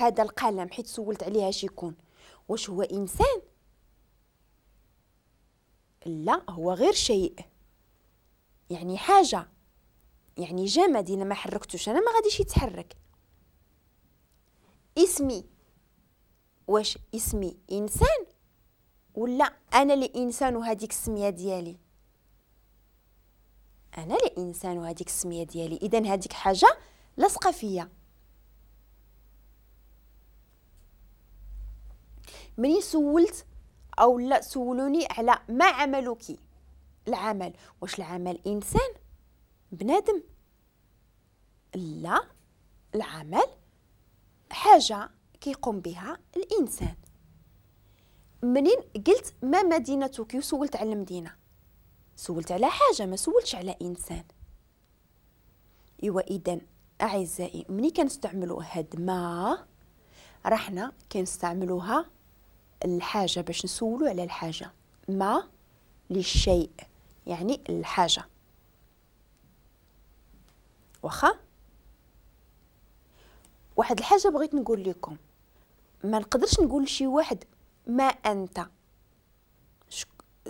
هذا القلم حيت سولت عليها شيكون، واش هو إنسان؟ لا، هو غير شيء، يعني حاجة، يعني جماد، إلا ما حركتوش أنا ما غاديش يتحرك. اسمي، واش اسمي إنسان ولا أنا اللي إنسان وهذيك السمية ديالي؟ أنا اللي إنسان وهذيك السمية ديالي، إذن هذيك حاجة لصقة فيا. مني سولت أو لا سولوني على ما عملك، العمل، واش العمل إنسان بنادم؟ لا، العمل حاجة كيقوم بها الإنسان. منين قلت ما مدينتك وسولت على المدينة، سولت على حاجة، ما سولتش على إنسان. إيوا إذن أعزائي مني كنستعملوا هاد ما، رحنا كنستعملوها الحاجة باش نسولو على الحاجة، ما للشيء يعني الحاجة. واخا واحد الحاجة بغيت نقول لكم، ما نقدرش نقول لشي واحد ما أنت،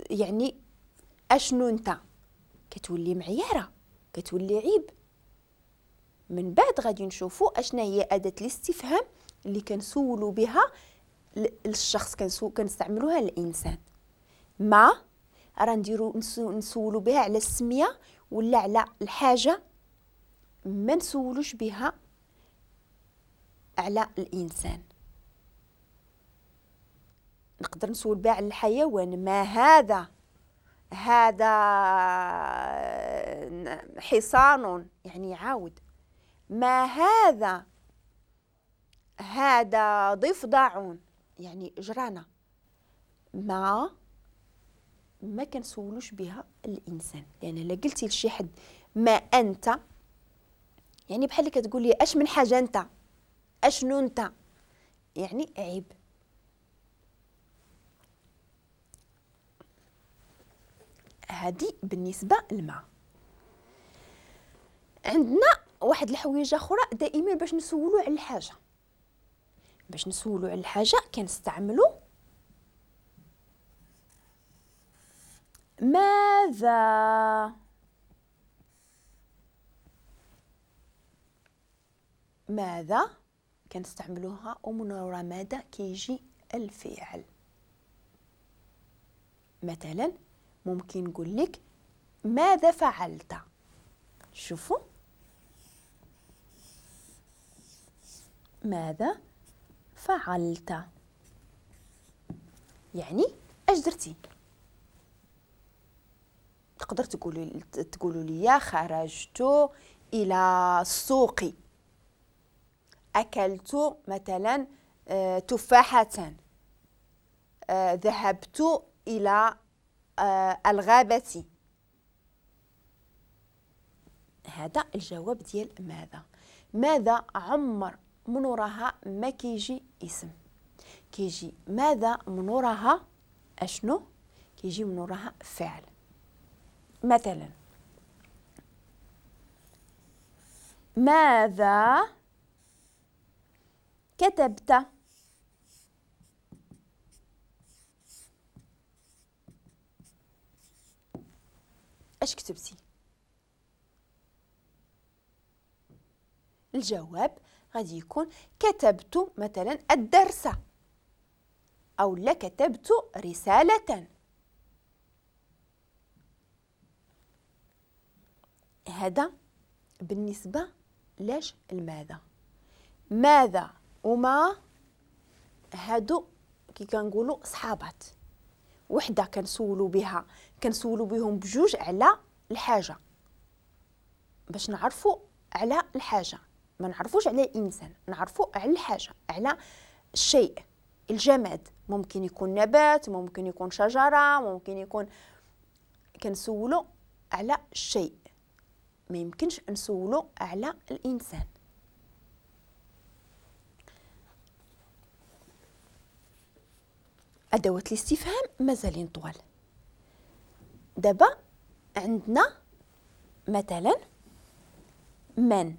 يعني أشنو أنت، كتولي معيارة، كتولي عيب. من بعد غادي نشوفوا أشنا هي أداة الاستفهام اللي كنسولوا بها للشخص، كنستعملوها للإنسان. ما راه نديرو نسولوا بها على السمية ولا على الحاجة، ما نسولوش بها على الإنسان. نقدر نسول بها على الحيوان، ما هذا؟ هذا حصان، يعني عاود. ما هذا؟ هذا ضفدع، يعني جرانة. ما كنسولوش بها الإنسان، لأن إلا قلتي لشي حد ما أنت، يعني بحال اللي كتقول لي أش من حاجة أنت، أشنو أنت، يعني عيب. هذه بالنسبة للما. عندنا واحد الحويجة أخرى دائما باش نسولو على الحاجة، باش نسولو على الحاجة كنستعملو ماذا. ماذا كنستعملوها، ومن وراء ماذا كيجي الفعل. مثلا ممكن نقول لك ماذا فعلت. شوفوا ماذا فعلت، يعني اش درتي. تقدر تقولوا لي خرجت الى السوق، اكلت مثلا تفاحة، ذهبت الى الغابة. هذا الجواب ديال ماذا. ماذا عمر من وراها ما كيجي اسم، كيجي ماذا من وراها اشنو، كيجي من وراها فعل. مثلا ماذا كتبت؟ اش كتبتي؟ الجواب غادي يكون كتبت مثلا الدرس، أو لا كتبت رسالة. هذا بالنسبة لاش الماذا. ماذا وما هادو كي كنقولوا صحابات، وحده كنسولوا بها، كنسولوا بهم بجوج على الحاجة باش نعرفوا على الحاجة، ما نعرفوش على الانسان، نعرفوا على الحاجة، على الشيء الجماد. ممكن يكون نبات، ممكن يكون شجرة، ممكن يكون، كنسولوا على الشيء، ما يمكنش نسولوا على الانسان. أدوات الاستفهام مازالين طوال. دابا عندنا مثلا من.